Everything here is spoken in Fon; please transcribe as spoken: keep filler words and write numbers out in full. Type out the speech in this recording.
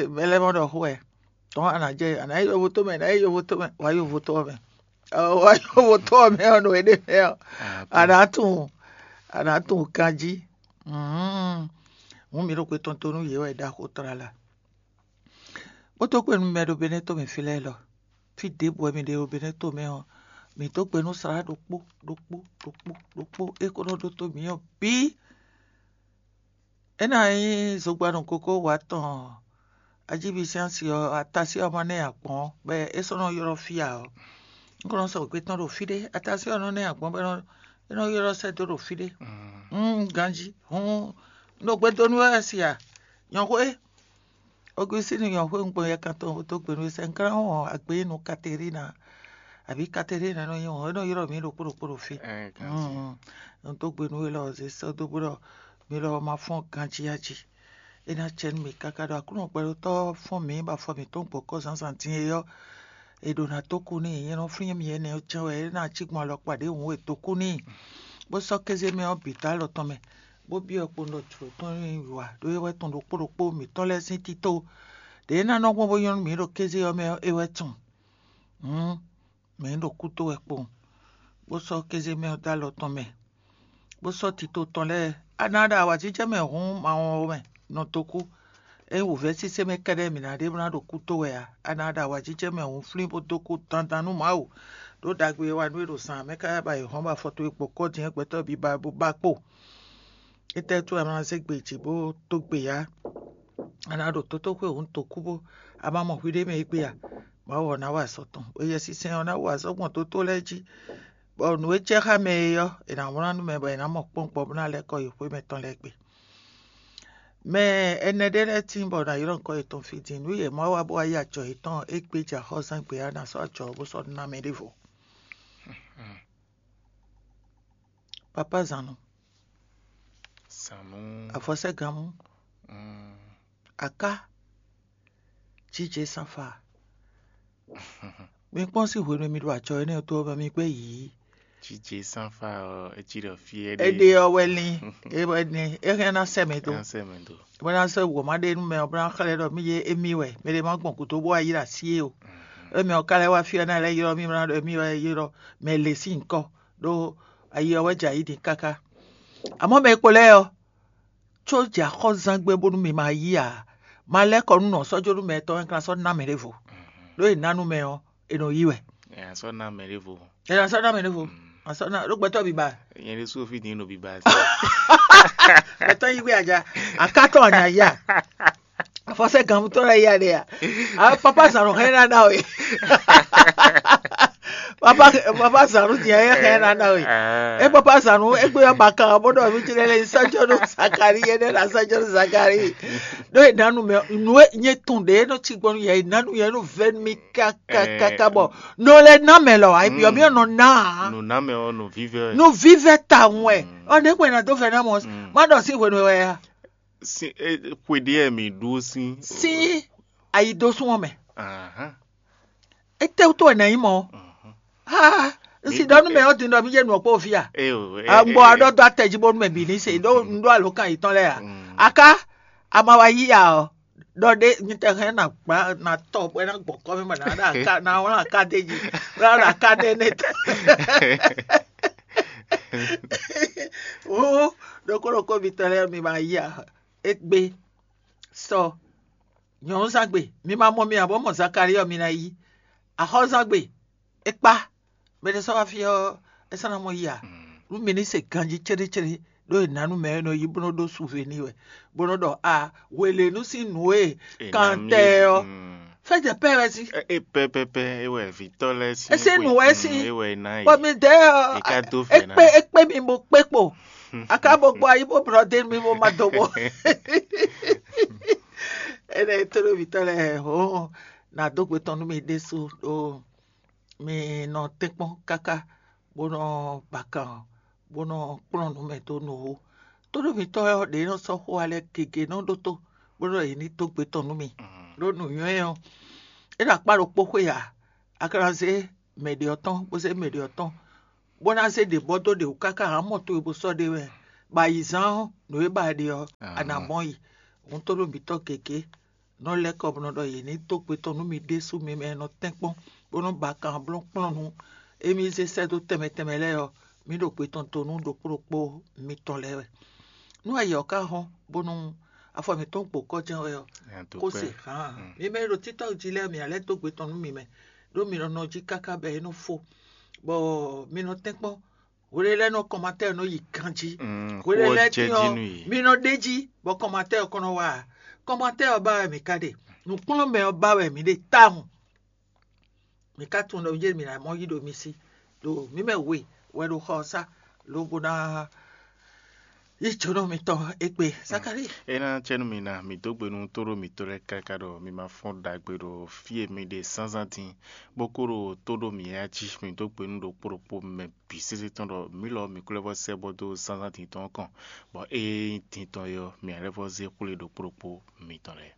Mɛ lɛ́ɛ mɔ ɖɔ xó wɛ. Tɔn a nǎ jɛ, a nǎ yi yovo tó mɛ, a nǎ yi yovo tó mɛ, wǎ yovo tó ɔ́ mɛ. Wǎ yovo tó ɔ́ mɛ ɔ́, nɔ éɖée mɛ ɔ́, a nǎ tunwun, a nǎ tunwun ganjí. Hǔn mǐ ɖo xwe tɔn to nú yě wɛ ɖaxó tlala. Bó dó kpé nú mɛ ɖo Benɛ́to mɛ fí lɛ́ɛ lɔ. Fí ɖěbǔ wɛ mì ɖe ɖo Benɛ́to mɛ ɔ́, mǐ dó gbe nú slá ɖokpó ɖokpó ɖokpó ɖokpó é ko nɔ ɖótó mǐ ɔ́ bǐ. É ná nyí zogbanu kókó wǎ tɔn ajíbísɛ́nsi ɔ́, atasí ɔ́ ma nɛ́ ǎ gbɔn bɔ é sɔ́ nɔ ylɔ́ fí ǎ ɔ́, un ko nɔ sɔ́ wěgbé tɔn ɖo fí ɖé. Atasí ɔ́ nɔ nɛ́ ǎ gbɔn bɔ é nɔ ylɔ́ sɛ́ dó ɖo fí ɖé. Ganjí hǔn un ɖo gbe dó nú wɛ si a? Nyɔ̌xwé Ɔgustín nyɔ̌xwé un gbɔn yɛkan tɔn dó gbe nú we sɛnklán wɔn agbeyínu Katerína abǐ Katerína nɔ nyí wɔn, é nɔ ylɔ́ mǐ ɖokpó ɖokpó ɖo fí. Un dó gbe nú we lɔ zě sɔ́ dó bó ɖɔ mi lɔ ma fɔ́n ganjí a jí. É ná acɛ nú mì káká ɖɔ Aklúnɔ gbɛɖotɔ́ fɔ́n mǐ bɔ afɔ mǐtɔn gbɔ̌ kɔ́ zǎnzǎn din é ɔ́, è ɖǒ ná dó kú n'i. Nyɛ nɔ flín mì énɛ́ ɔ́ cɛ́n wɛ é ná cí gbɔn alɔkpa ɖěhǔn e dó kú n'i, bó sɔ́ kéze mɛ ɔ́ bǐ dó alɔ tɔn mɛ, bó byɔ́ kpowun ɖɔ jlǒ tɔn nyí wǐwá ɖó é wɛ tɔn ɖokpó ɖokpó mǐtɔn lɛ́ɛ sín tito. Ɖě é ná nɔ gbɔn bó nyɔ́ nú mǐ ɖo kéze ɔ́ mɛ ɔ́, é wɛ tɔn. Hǔn mǐ ɖo kúdó wɛ kpowun, bó sɔ́ kéze mɛ ɔ́ dó alɔ tɔn mɛ, bó sɔ́ tito tɔn lɛ́ɛ. A ná ɖo awǎjijɛ mɛ hǔn ma wɔn mɛ nɔ dó kú. Ényí wǔvɛ́ sísé mɛ kɛ́ɖɛ́ mǐ ná ɖe bó ná ɖo kúdó wɛ ǎ. A ná ɖo awǎjijɛ mɛ hǔn flín bó dó kú dandan nú Mawu, ɖó ɖagbe e wa nú we ɖo zǎn mɛ káká ba è hɔn bɔ afɔ towe gbɔ̌ kɔ́ din é gbɛtɔ́ biba bó ba kpo. Étɛ́ wútu a ma zé gbe jǐ bó dó gbe ǎ? A nǎ ɖo tótóxwé hǔn dǒ kú bó a ma mɔ hwiɖée mɛ égbé a? Mawu ɔ́ ná wa azɔ̌ tɔn. Yɛsinsɛn ɔ́ ná wa azɔ̌ gbɔn dótó lɛ́ɛ jí, bɔ nǔ e jɛ xá mɛ é ɔ́, è nǎ wlán nú mɛ bɔ è nǎ mɔ kpɔ́ngbɔ́ bó ná lɛ́ kɔ yi xwé mɛtɔn lɛ́ɛ gbe. Mɛ ɛnɛ ɖé lɛ́ɛ tíin bɔ è nǎ ylɔ́ nukɔn yětɔn fí din. Nǔ yě má wa bó wá yí ajɔ yětɔn égbé jɛ axɔ́zán gbe ɔ́, è nǎ sɔ́ ajɔ ɔ́ bó sɔ́ ná mɛ ɖěvo. Papá zǎn nɔ, Sanu. Afɔsɛ́ganmú, Mm. Aká, Jijɛ Sanfa. Mi kpɔ́n sín hwenu e mi ɖo ajɔ énɛ́ ɔ́ tó ɔ́ mɛ, mi gbɛ́ yǐ. Jijɛ Sanfa ɔ́, etsi ɖɔ fí Éɖe ɔ́ wɛ lín, é wɛ ní, é hɛn ná sɛ mɛ dó. Ɛn sɛ mɛ dó. Bó ná sɔ́ wǒ má ɖe nú mɛ ɔ́, bó ná xlɛ́ ɖɔ mí yé émí wɛ, mɛ ɖé má gbɔn gǔdo bó wá yi ɖo así é o. Émí ɔ́ ka lɛ́ wá fí ɔ́ ná lɛ́ ylɔ́ mí bó ná ɖɔ émí wɛ ylɔ́ mɛ lě sín nyǐkɔ, ɖó ayi ɔ́ wɛ jɛ ayǐ din káká. Àmọ́ mɛ e kpo lɛ́ɛ ɔ́, có jɛ axɔ́zán gbé bónú mi ma yí ǎ. Ma lɛ́ kɔ nú nɔ sɔ́ jó nú mɛ tɔn e kan sɔ́ ná mɛ ɖěvo. Ɖó è ná nú mɛ ɔ́, è nɔ yí wɛ. Ɛ sɔ ná mɛ ɖěvo. È nɔ sɔ́ ná mɛ ɖěvo. A sɔ́ ná ɖó gbɛtɔ́ biba. Nyɛ ɖésú fi dín nɔ biba. Gbɛtɔ́ yí wɛ aja. Akátɔ anya ya. Afɔsɛ gan mutɔ la ya ɖe ya. A papa zan no hɛn na na we. Papa papa zan no diɛ hɛn na na we. E papa zan no egbe ya ba kan bo do mi ti le sa jo no Zakari ye ne la sa jo no Zakari. Do e nanu me no e nye tun de no ti gbɔnu ye nanu ye no vɛ mi ka ka ka ka bɔ no le na me lɔ ayi bi o mi no na. Nunamɛ ɔ nɔ vívɛ. No vívɛ ta wɛ. Ɔ ne ko na do fɛ na mɔ. Ma dɔ si hwenu wɛ ya. Xwe ɖé mi ɖó sín. Sí ayi dó sún ɔmɛ. Ahán. Ete wútu wɛ nɛ nyí mɔ. Ha n si dɔ nú mɛ ɔ́ din ɖɔ mí yé nu ɔkpó fia. Eo. Agbɔ aɖɔ dó atɛ jí bónú mɛ bǐ ní se ɖó n ɖó alo kan yětɔn lɛ́ɛ a. Aká ama wa yí ya ɔ ɖɔ ɖé nyitɛ hɛn na gba na tɔ bɔ na gbɔ kɔ mi ma na ɖa aka na wla aka ɖe dzi na ɖa aka ɖe ne tɛ. Wo ɖokó ɖokó mi tɔ lɛ mi ma yí ya egbe sɔ nyɔ̌núzangbe mi ma mɔ mi ǎ bɔ mɔ Zakali ɔ mi na yí axɔ́zangbe é kpá. Mɛ ɖé sɔ́ wá fí ɔ́ é sɔ́ ná mɔ yí ǎ. Nú mi ní se ganjí céɖécéɖé ɖó è nǎ nú mɛ e nɔ yí bó nɔ́ ɖó suve n'i wɛ bó nɔ́ ɖɔ a hwelénu sín nǔ e kan tɛ ɔ́ fɛ́jɛ pɛ́ wɛ sí. E pɛpɛpɛ e wɛ vitɔ lɛ sí. Ese nǔ wɛ sí. E wɛ ná yi. Bɔ mi dɛ ɔ Eka do fɛ na. Ekpe ekpe mi bo kpe kpo. Aka bo gbɔ ayi bo blɔ de mi bo ma do bo. Ene to ɖo vitɔ lɛ ho na do gbe tɔn nú mi ɖésú ɖo mi nɔ tɛ́nkpɔ́n káká bó nɔ ba kan bó nɔ kplɔ́n nǔ mɛ dó nú wo. Tóɖómitɔ́ ɔ́ ɖě nɔ sɔ́ xó alɛ gěgé nɔ ɖótó bó nɔ yě ní dó gbe tɔn nú mi. Ɖó nǔnywɛ́ ɔ́, é ɖo akpá ɖokpó xwé ǎ, a ka ná zé mɛ ɖě ɔ́ tɔn bó zé mɛ ɖě ɔ́ tɔn, bó ná zé ɖě bɔ dó ɖě wú káká hǎn mɔ towe bó sɔ́ ɖe wɛ, bɔ ayǐzán ɔ́, nǔ e ba ɖe ɔ́, a nǎ mɔ yi. Hǔn tóɖómitɔ́ gěgé nɔ lɛ́ kɔ bó nɔ ɖɔ yě ní dó gbe tɔn nú mi ɖésú mi mɛ e nɔ tɛ́nkpɔ́n bó nɔ́ ba kanblɔ́ kplɔ́n nú émí zé sɛ́ dó tɛnmɛ tɛnmɛ lɛ́ɛ ɔ́, mǐ ɖo gbe tɔn do nú ɖokpó ɖokpó mitɔn lɛ́ɛ wɛ. Nú ayǐ ɔ́ ka hɔ́n bónú afɔ mǐtɔn gbo kɔ́ jɛ́n wɛ ɔ́, kó se hǎn. Mi mɛ e ɖo títɔ́ jí lɛ́ɛ, mǐ ná lɛ́ dó gbe tɔn nú mi mɛ, ɖó mi nɔ nɔ jí káká bɔ é nɔ fó, bɔ mi nɔ tɛ́nkpɔ́n. Hwelelɛ́nɔ kɔmatɛ́ nɔ yi ganjí. Hwelelɛ́tín ɔ́, mi nɔ ɖe jí bɔ kɔmatɛ́ ɔ́ kɔn nɔ wá ǎ. Kɔmatɛ́ ɔ́ ba wɛ mǐ ka ɖe. Nǔkplɔ́nmɛ ɔ́ ba wɛ mǐ ɖe tawun. Mǐ ka tunwun ɖɔ jɛ́n mǐ ná mɔ yí ɖo mi sí, ɖo mǐ mɛ we wɛ ɖo xɔ ɔ́ sá, lobo ná yí jǒnɔ mitɔn égbé. Zakalíi. É ná cɛ́ nú mi ná, mǐ dó gbe nú tóɖó mǐtɔn lɛ́ɛ káká ɖɔ mi ma fɔ́n ɖagbe ɖo fí e mi ɖe zǎnzǎn din, bó kó ɖo tó ɖó mǐ yá jí. Mǐ dó gbe nú ɖokpó ɖokpó mɛ bǐ sésé tɔn ɖɔ mǐ lɔ mǐ kó lɛ́ vɔ́ sɛ́ bɔ dó zǎnzǎn din tɔn ɔ́ kɔn, bɔ ée nyí din tɔn é ɔ́, mǐ ná lɛ́ vɔ́ zé xwlé ɖokpó ɖokpó mitɔn lɛ́ɛ.